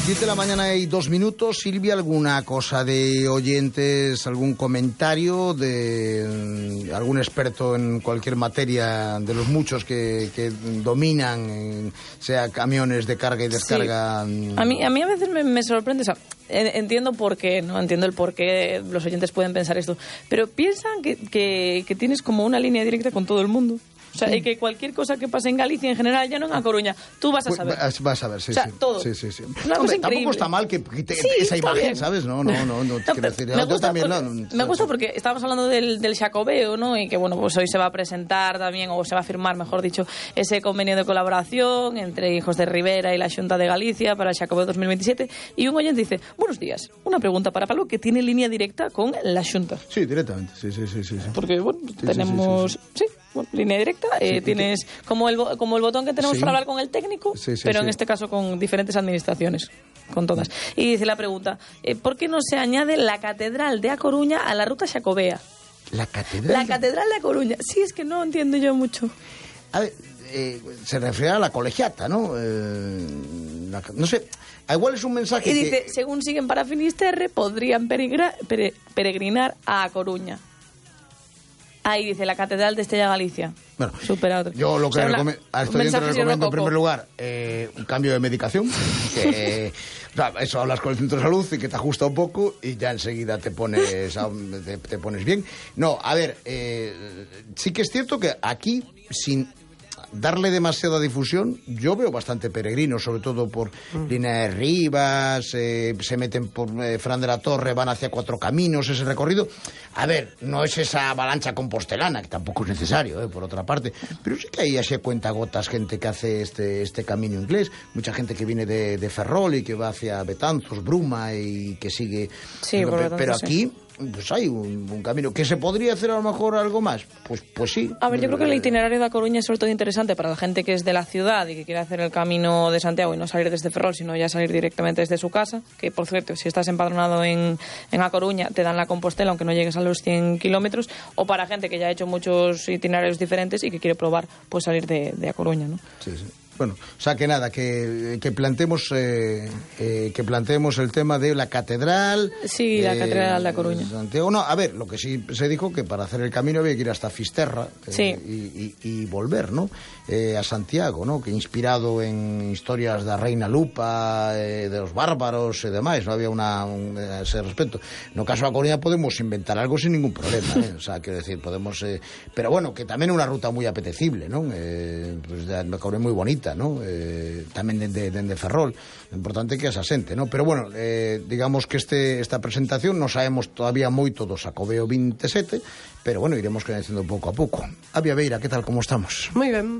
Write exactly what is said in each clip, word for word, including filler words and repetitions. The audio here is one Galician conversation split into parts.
diez de la mañana y dos minutos. Silvia, ¿alguna cosa de oyentes, algún comentario de mm, algún experto en cualquier materia de los muchos que, que dominan, en, sea camiones de carga y descarga? Sí. A mí, a mí a veces me, me sorprende, o sea, entiendo por qué, no entiendo el por qué los oyentes pueden pensar esto, pero piensan que, que, que tienes como una línea directa con todo el mundo. O sea, sí. Y que cualquier cosa que pase en Galicia en general, ya no en A Coruña, tú vas a saber. Pues, vas a ver, sí, o sea, sí. todo. Sí, sí, sí. Una Hombre, cosa tampoco está mal que quite sí, esa imagen, bien. ¿Sabes? No, no, no. no, no decir, me, gusta también, porque, no, me gusta porque estábamos hablando del, del Xacobeo, ¿no? Y que, bueno, pues hoy se va a presentar también, o se va a firmar, mejor dicho, ese convenio de colaboración entre Hijos de Rivera y la Xunta de Galicia para el Xacobeo dos mil veintisiete. Y un oyente dice, buenos días, una pregunta para Pablo que tiene línea directa con la Xunta. Sí, directamente, sí, sí, sí. sí. Porque, bueno, sí, tenemos... Sí, sí, sí. sí. Bueno, línea directa, eh, sí, tienes que... como el como el botón que tenemos sí. para hablar con el técnico, sí, sí, pero sí. en este caso con diferentes administraciones, con todas. Y dice la pregunta, eh, ¿por qué no se añade la Catedral de A Coruña a la ruta Xacobea? ¿La Catedral? La Catedral de A Coruña. Sí, es que no entiendo yo mucho. A ver, eh, se refiere a la colegiata, ¿no? Eh, la, no sé... Igual es un mensaje y dice, que... según siguen para Finisterre, podrían peregrinar, pere, peregrinar a A Coruña. Ahí dice, la Catedral de Estella Galicia. Bueno, superado. Yo lo que o sea, recome- a este oyente recomiendo en primer lugar eh, un cambio de medicación. Que, o sea, eso hablas con el centro de salud y que te ajusta un poco y ya enseguida te pones, te, te pones bien. No, a ver, eh, sí que es cierto que aquí, sin darle demasiada difusión, yo veo bastante peregrinos, sobre todo por mm. Línea de Rivas, eh, se meten por eh, Fran de la Torre, van hacia Cuatro Caminos, ese recorrido. A ver, no es esa avalancha compostelana, que tampoco es necesario, eh, por otra parte, pero sí que hay así cuentagotas gente que hace este, este camino inglés, mucha gente que viene de, de Ferrol y que va hacia Betanzos, Bruma y que sigue... Sí, pero, tanto, pero aquí... Sí. Pues hay un, un camino. ¿Que se podría hacer a lo mejor algo más? Pues, pues sí. A ver, yo creo que el itinerario de A Coruña es sobre todo interesante para la gente que es de la ciudad y que quiere hacer el camino de Santiago y no salir desde Ferrol, sino ya salir directamente desde su casa, que por cierto, si estás empadronado en, en A Coruña, te dan la Compostela, aunque no llegues a los cien kilómetros, o para gente que ya ha hecho muchos itinerarios diferentes y que quiere probar pues salir de, de A Coruña, ¿no? Sí, sí. Bueno, o sea que nada, que, que planteemos eh, eh, que planteemos el tema de la catedral. Sí, la eh, catedral de A Coruña. Santiago, no, a ver, lo que sí se dijo que para hacer el camino había que ir hasta Fisterra eh, sí. y, y, y volver, ¿no? Eh, a Santiago, ¿no? Que inspirado en historias da Reina Lupa, eh, de los bárbaros e demais, no había una un, ese respecto. No caso a Coruña podemos inventar algo sin ningún problema, ¿eh? O sea, quiero decir, podemos, eh, pero bueno, que tamén é unha ruta moi apetecible, ¿no? Eh, pues de Coruña moi bonita, ¿no? Eh, tamén dende de, de Ferrol, o importante que esa xente, ¿no? Pero bueno, eh, digamos que este esta presentación non sabemos todavía moito do Xacobeo veintisiete, pero bueno, iremos conhecendo pouco a pouco. Avia Beira, que tal, como estamos? Moi ben.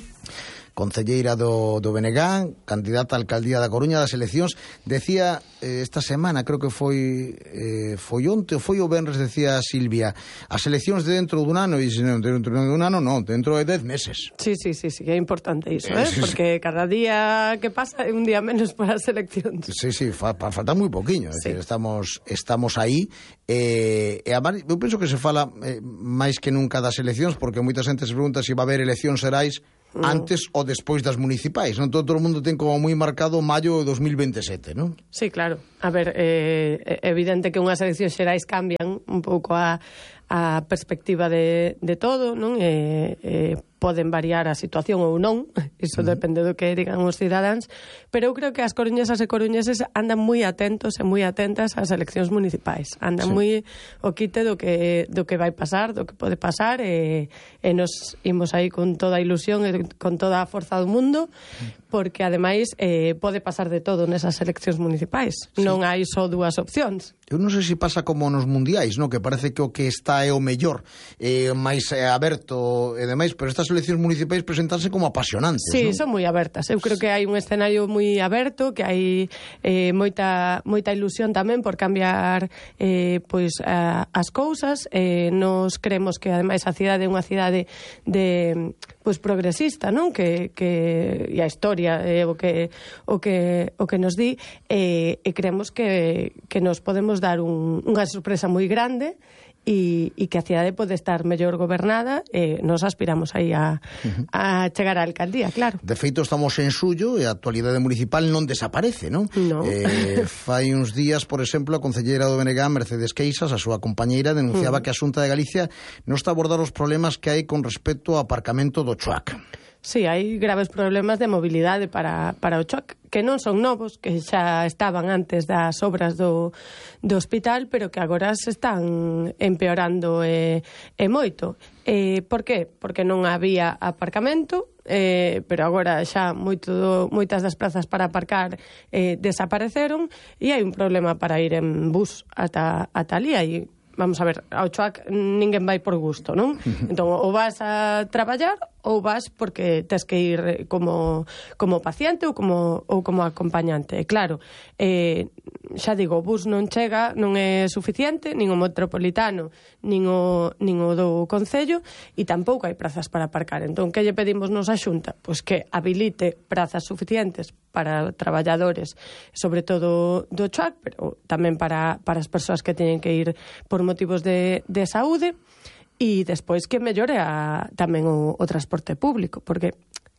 Concelleira do, do B N G, candidata a alcaldía da Coruña das eleccións, decía eh, esta semana, creo que foi eh, foi onte ou foi o venres, decía Silvia, as eleccións de dentro dun ano, e non, dentro dun ano non, dentro de dez meses. Sí, sí, sí, sí, é importante iso, eh? Porque cada día que pasa é un día menos para as eleccións. Sí, sí, fa, falta moi poquiño, sí. decir, estamos estamos aí, eh, e a, eu penso que se fala eh, máis que nunca das eleccións, porque moita xente se pregunta se va a haber eleccións xerais antes ou despois das municipais, non? Todo, todo o mundo ten como moi marcado maio de dos mil veintisiete, non? Sí, claro. A ver, eh, é evidente que unhas eleccións xerais cambian un pouco a, a perspectiva de, de todo, non? E, eh, poden variar a situación ou non, iso uh-huh. depende do que digan os cidadáns, pero eu creo que as coruñesas e coruñeses andan moi atentos e moi atentas ás eleccións municipais, andan sí. moi o quite do que do que vai pasar, do que pode pasar, e, e nos imos aí con toda a ilusión e con toda a forza do mundo, porque ademais eh, pode pasar de todo nesas eleccións municipais, sí. non hai só dúas opcións. Eu non sei se pasa como nos mundiais, no? Que parece que o que está é o mellor, eh, máis eh, aberto e demais, pero estas eleccións municipais presentanse como apasionantes, sí, non? son moi abertas. Eu creo que hai un escenario moi aberto, que hai eh, moita moita ilusión tamén por cambiar eh, pois a, as cousas. Eh, nos creemos que ademais a cidade é unha cidade de pois progresista, non? Que, que e a historia é o que o que o que nos di, e, e creemos que que nos podemos dar un, unha sorpresa moi grande e, e que a cidade pode estar mellor gobernada, e nos aspiramos aí a, a chegar á alcaldía, claro. De feito, estamos en xullo e a actualidade municipal non desaparece, non? No. Eh, fai uns días, por exemplo, a concelleira do B N G, Mercedes Queixas, a súa compañeira, denunciaba mm. que a Xunta de Galicia non está a abordar os problemas que hai con respecto ao aparcamento do Choac. Sí, hai graves problemas de mobilidade para, para o Choac, que non son novos, que xa estaban antes das obras do, do hospital, pero que agora se están empeorando e, e moito. E, por qué? Porque non había aparcamento, eh, pero agora xa moito, moitas das plazas para aparcar eh, desapareceron, e hai un problema para ir en bus ata, ata ali, hai... Vamos a ver, ao Choac ninguén vai por gusto, non? Entón, ou vas a traballar ou vas porque tes que ir como, como paciente ou como, ou como acompañante. E claro, eh, xa digo, o bus non chega, non é suficiente, nin o metropolitano, nin o, nin o do Concello, e tampouco hai prazas para aparcar. Entón, que lle pedimos nos a Xunta? Pois que habilite prazas suficientes para traballadores, sobre todo do Choac, pero tamén para, para as persoas que teñen que ir por motivos de, de saúde, e despois que mellore a, tamén o, o transporte público, porque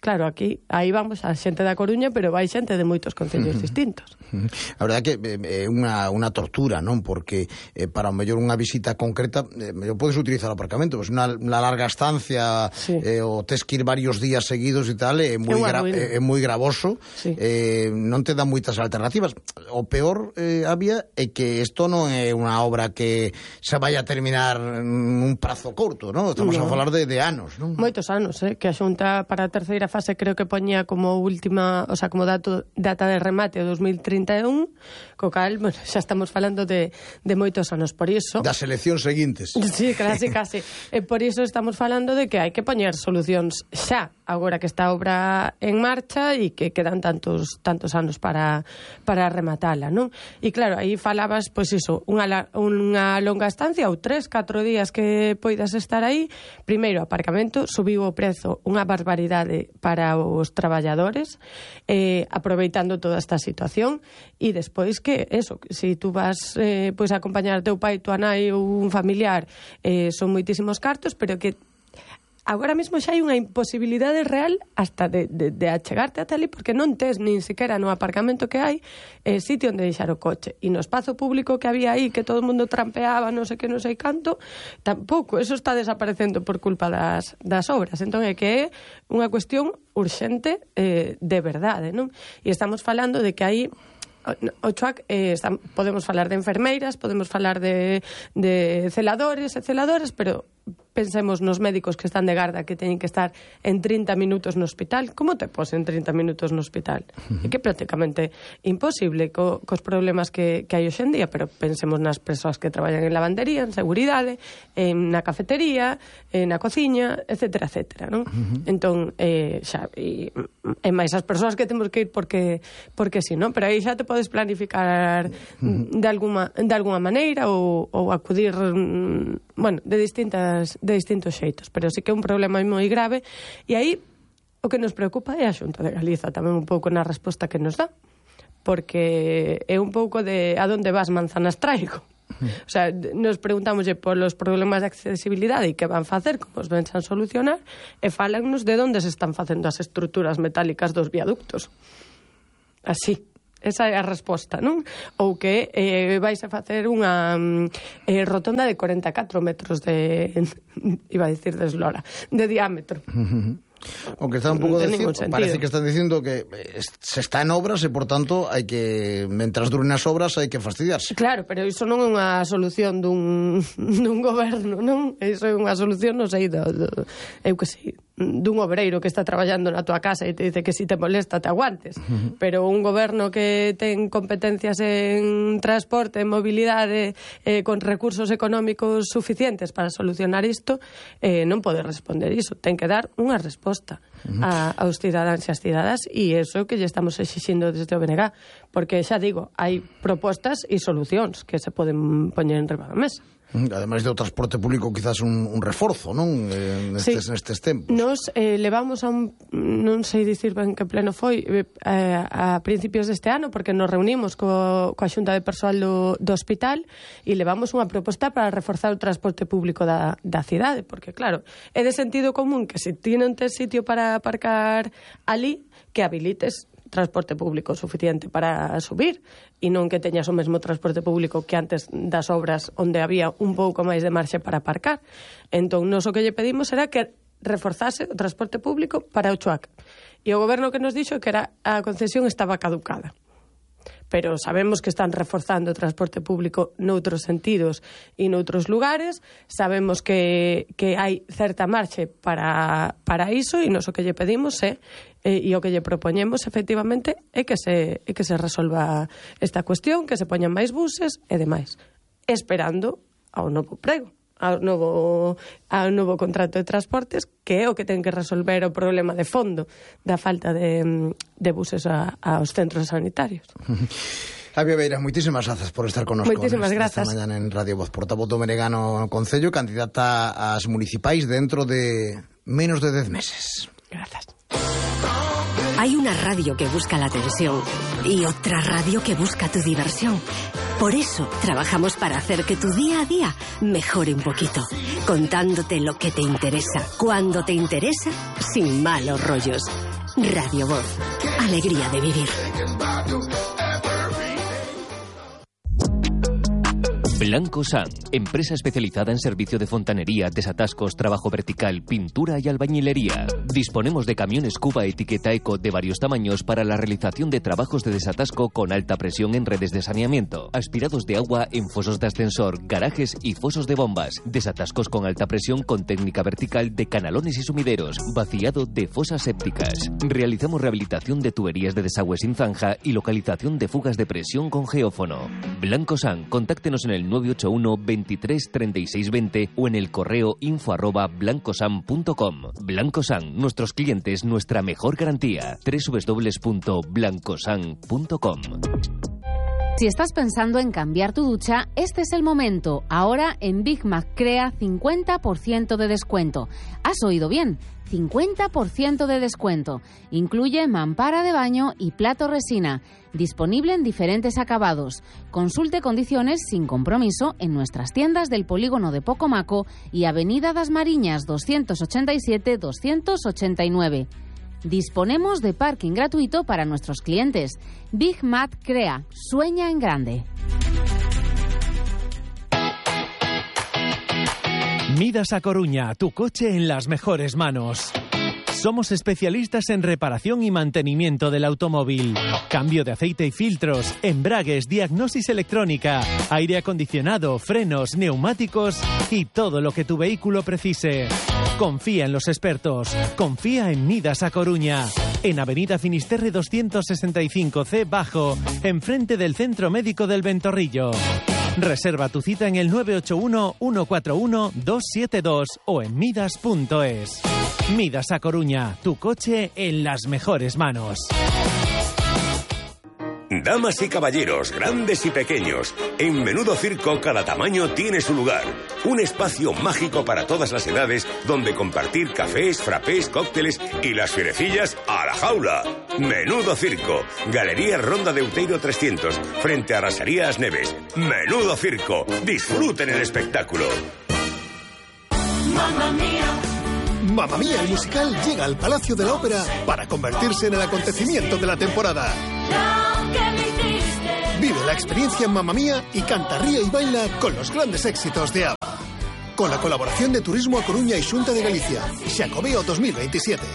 claro, aquí, aí vamos a xente da Coruña, pero vai xente de moitos concellos uh-huh. distintos. Uh-huh. A verdade é que é eh, unha, unha tortura, non? Porque eh, para o mellor unha visita concreta, eh, mellor podes utilizar o aparcamento, pois unha, unha larga estancia, sí. eh, o tes que ir varios días seguidos e tal, é moi, gra é, é moi gravoso, sí. eh, non te dá moitas alternativas. O peor, eh, había, é que isto non é unha obra que se vai a terminar nun prazo corto, non? Estamos no. a falar de, de anos, non? Moitos anos, eh? Que a Xunta para a terceira fase creo que poñía como última, o sea, como dato, data de remate o dos mil trinta e un, co cal, bueno, xa estamos falando de, de moitos anos, por iso... Das eleccións seguintes. Sí, casi, casi. E por iso estamos falando de que hai que poñer solucións xa, agora que está a obra en marcha e que quedan tantos tantos anos para, para rematala, non? E claro, aí falabas, pois iso, unha, unha longa estancia ou tres, catro días que poidas estar aí. Primeiro, aparcamento, subiu o prezo unha barbaridade para os traballadores, eh, aproveitando toda esta situación, e despois que, eso, se si tú vas eh, pois a acompañar teu pai, tua nai ou un familiar, eh, son moitísimos cartos, pero que agora mesmo xa hai unha imposibilidade real hasta de, de, de achegarte ata ali, porque non tes nin sequera no aparcamento que hai eh, sitio onde deixar o coche, e no espazo público que había aí, que todo o mundo trampeaba, non sei que, non sei canto, tampouco, eso está desaparecendo por culpa das, das obras. Entón é que é unha cuestión urxente eh, de verdade, non? E estamos falando de que aí o Choac, eh, está, podemos falar de enfermeiras, podemos falar de, de celadores e celadoras, pero pensemos nos médicos que están de garda, que teñen que estar en trinta minutos no hospital. Como te pos en trinta minutos no hospital? Uh-huh. É que prácticamente imposible co, cos problemas que, que hai hoxendía, pero pensemos nas persoas que traballan en lavandería, en seguridade, en na cafetería, en na cociña, etcétera, etcétera, non? Uh-huh. Entón, eh, xa, e, e máis as persoas que temos que ir porque porque si, non? Pero aí xa te podes planificar uh-huh. de alguma de alguna maneira ou, ou acudir, bueno, de distintas de distintos xeitos, pero sí que é un problema moi grave, e aí o que nos preocupa é a Xunta de Galiza tamén un pouco na resposta que nos dá, porque é un pouco de a donde vas manzanas traigo. O sea, nos preguntamos polos problemas de accesibilidade e que van facer, como os ven a solucionar, e falannos de onde se están facendo as estruturas metálicas dos viaductos. Así. Esa é a resposta, non? Ou que eh, vais a facer unha eh, rotonda de corenta e catro metros de... iba a dicir de eslora, de diámetro. O que está un pouco dicindo, parece que están dicindo que se está en obras e, por tanto, hai que, mentras duren as obras, hai que fastidiarse. Claro, pero iso non é unha solución dun, dun goberno, non? Iso é unha solución, non sei, do, do, eu que sei, dun obreiro que está traballando na tua casa e te dice que si te molesta te aguantes, uh-huh. pero un goberno que ten competencias en transporte, en mobilidade, eh, con recursos económicos suficientes para solucionar isto, eh, non pode responder iso, ten que dar unha resposta uh-huh. a, aos cidadáns e as cidadas, e iso é o que lle estamos exixindo desde o B N G, porque xa digo, hai propostas e solucións que se poden poñer en riba da mesa. Ademais do transporte público, quizás un, un reforzo, non? Eh, nestes, sí. nestes tempos. Nos eh, levamos a un, non sei dicir ben que pleno foi, eh, a principios deste ano, porque nos reunimos co, coa Xunta de Persoal do, do hospital e levamos unha proposta para reforzar o transporte público da, da cidade, porque claro, é de sentido común que se ti non tes sitio para aparcar ali, que habilites transporte público suficiente para subir e non que teñas o mesmo transporte público que antes das obras onde había un pouco máis de marxe para aparcar. Entón, nos o que lle pedimos era que reforzase o transporte público para o Chuac. E o goberno que nos dixo que era a concesión estaba caducada. Pero sabemos que están reforzando o transporte público noutros sentidos e noutros lugares, sabemos que, que hai certa marxe para, para iso e nos o que lle pedimos é, e, e o que lle propoñemos efectivamente é que se, é que se resolva esta cuestión, que se poñan máis buses e demais, esperando ao novo prego, ao novo, ao novo contrato de transportes, que é o que ten que resolver o problema de fondo da falta de, de buses a, aos centros sanitarios. Javier Beira, moitísimas grazas por estar con nosotros esta mañá en Radio Voz. Portavoz do Meregano no Concello, candidata ás municipais dentro de menos de dez meses. Grazas. Hay una radio que busca la atención y otra radio que busca tu diversión. Por eso trabajamos para hacer que tu día a día mejore un poquito, contándote lo que te interesa, cuando te interesa, sin malos rollos. Radio Voz, alegría de vivir. Blanco San, empresa especializada en servicio de fontanería, desatascos, trabajo vertical, pintura y albañilería. Disponemos de camiones Cuba etiqueta Eco de varios tamaños para la realización de trabajos de desatasco con alta presión en redes de saneamiento, aspirados de agua en fosos de ascensor, garajes y fosos de bombas, desatascos con alta presión con técnica vertical de canalones y sumideros, vaciado de fosas sépticas. Realizamos rehabilitación de tuberías de desagüe sin zanja y localización de fugas de presión con geófono. Blanco San, contáctenos en el nueve ocho uno, veintitrés, treinta y seis veinte o en el correo info arroba blancosan punto com. Blancosan, nuestros clientes, nuestra mejor garantía. doble u doble u doble u punto blancosan punto com. Si estás pensando en cambiar tu ducha, este es el momento. Ahora en Big Mac Crea cincuenta por ciento de descuento. ¿Has oído bien? cincuenta por ciento de descuento. Incluye mampara de baño y plato resina. Disponible en diferentes acabados. Consulte condiciones sin compromiso en nuestras tiendas del polígono de Pocomaco y Avenida das Mariñas doscientos ochenta y siete doscientos ochenta y nueve. Disponemos de parking gratuito para nuestros clientes. Big Mac Crea. Sueña en grande. Midas a Coruña, tu coche en las mejores manos. Somos especialistas en reparación y mantenimiento del automóvil. Cambio de aceite y filtros, embragues, diagnosis electrónica, aire acondicionado, frenos, neumáticos y todo lo que tu vehículo precise. Confía en los expertos. Confía en Midas a Coruña. En Avenida Finisterre doscientos sesenta y cinco C Bajo, enfrente del Centro Médico del Ventorrillo. Reserva tu cita en el nueve ocho uno, uno cuatro uno, dos siete dos o en midas punto es. Midas a Coruña, tu coche en las mejores manos. Damas y caballeros, grandes y pequeños, en Menudo Circo cada tamaño tiene su lugar. Un espacio mágico para todas las edades donde compartir cafés, frappés, cócteles y las fierecillas a la jaula. Menudo Circo, Galería Ronda de Outeiro trescientos, frente a Rasarías Neves. Menudo Circo, disfruten el espectáculo. Mamma mía. Mamma Mía, el musical llega al Palacio de la Ópera para convertirse en el acontecimiento de la temporada. Vive la experiencia en Mamma Mía y canta, ríe y baila con los grandes éxitos de ABBA. Con la colaboración de Turismo a Coruña y Xunta de Galicia. Xacobeo dos mil veintisiete.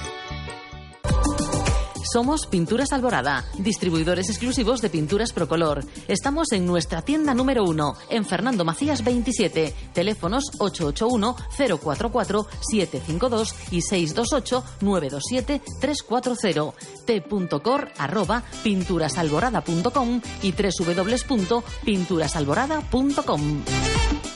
Somos Pinturas Alborada, distribuidores exclusivos de pinturas Procolor. Estamos en nuestra tienda número uno, en Fernando Macías veintisiete. Teléfonos ocho ocho uno, cero cuatro cuatro, siete cinco dos y seis dos ocho, nueve dos siete, tres cuatro cero. t.cor arroba pinturasalborada punto com y doble u doble u doble u punto pinturasalborada punto com.